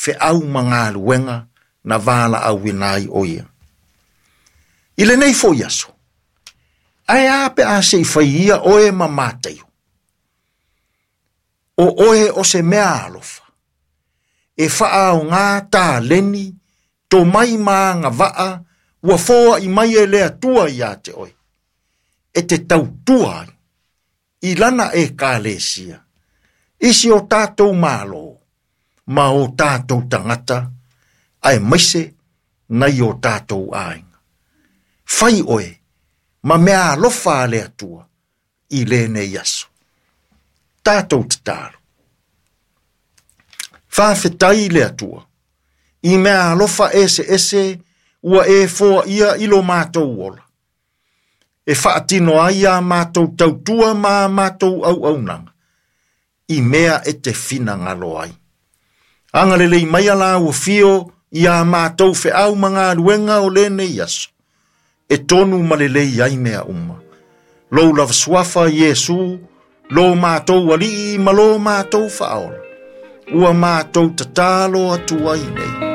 feau ma galuega na valaauina ai o ia. I lenei foi aso, ae a pe a se i fai ia oe ma Mataio? O oe o se mea alofa, e faaoga taleni, tomai ma agavaa ua foai mai e le Atua ia te oe, e te tautua ai i lana ekalesia, i si o tatou Malo ma o tatou tagata, aemaise nai o tatou aiga. Fai oe ma mea alofa a le Atua i lenei aso. Tatou tatalo. Faafetai i le Atua, i mea alofa eseese ua e foaia i lo matou ola, e faatino ai a matou tautua ma a matou auaunaga, i mea e te finagalo ai. Agalelei mai a lau afio i a matou feau ma galuega o lenei aso, e tonu ma lelei ai mea uma. Lou lava suafa Iesu, lo matou alii ma lo matou faaola, ua matou tatalo atu ai nei.